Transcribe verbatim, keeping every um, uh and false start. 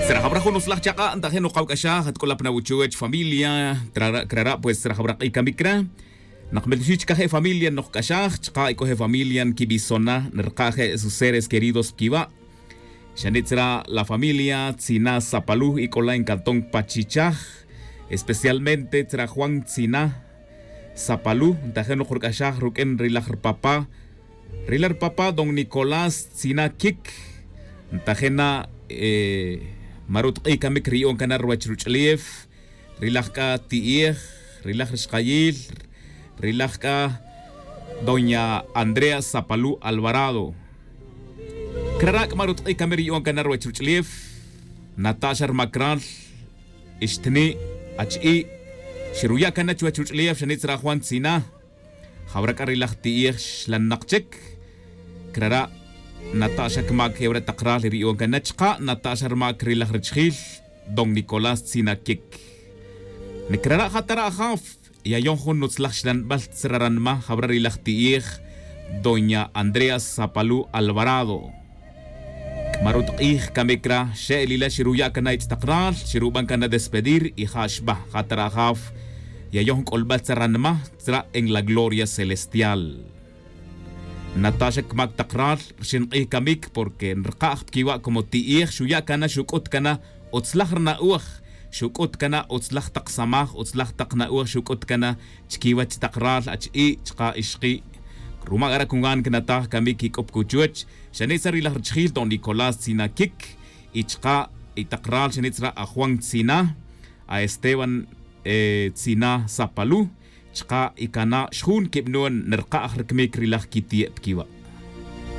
Tzra jawra jun utzlaj chak'a' ntajin nokawk'axaj atk'ulap na wuchuwech familia. Trara' crara' pues tzra jawra k'ij kamik ra. Nakmeltuxij chikaj e familia nokc'axaj chaka' ec'o e familia nkibisona nerka' je' sus seres queridos pkiwa'. Xani' tzra la familia tzina sapaluj ec'ola' encanton pachichaj. Especialmente tzra juan tzina sapaluj ntajin nokrk'axaj ruk'in ri laj rpapa. Ri laj rpapa don nicolás tzina kik. Ntajin na maru' tq'ij kamik ri yu'on kan na ruwech ruch'ulef. Ri laj k'a ti'ej, ri laj rixqayil, ri laj k'a doña andrea sapaluj alvarado. Crara' c'a maru' tq'ij kamik ri yu'on kan na ruwech ruch'ulef. Nata' xa rma cral, ixtni', achi'i'. Xiruya' kan na chuwech ruch'ulef xani' tzra juan tzina. Jawra c'a ri laj ti'ej xlannak chic. Crara' nata' xa cmac ewra tak ral ri yu'on can na chaka' nata' xa rmac ri laj richijil don nicolás tzina quic. Ni crara' ja tara' ajaf yayon jun nutzlaj xlanbal tzra ranma jawra ri laj ti'ej doña andrea sapalu alvarado. C'a ma rutk'ij camic ra xe'el ila xiruya' can na ich' tak ral xiruban can na despedir y ja xba ja tara' ajaf. Yayon c'olbal tzra ranma tzra en la gloria celestial. Nata' xa cmac tak ral rxin k'ij camic porque nrka'j pquiwa' como ti'ij xuya' can na xuc'ut can na utzlaj rna'oj. Xuc'ut can na utzlaj tak samaj utzlaj tak na'oj xuc'ut can na chiquiwech tak ral achi'i' chaka' ixki'. Ruma' c'a ra' cungan cnataj camic quic'up cuchuwech. Xani' tzra ri laj richijil don nicolás tzina quic y chaka' y tak ral xani' tzra ajuan tzina, aesteban tzina sapalu. Chaka' y cana' xjun quibnun nrka'j rcmic ri laj quiti'e' pquiwa'.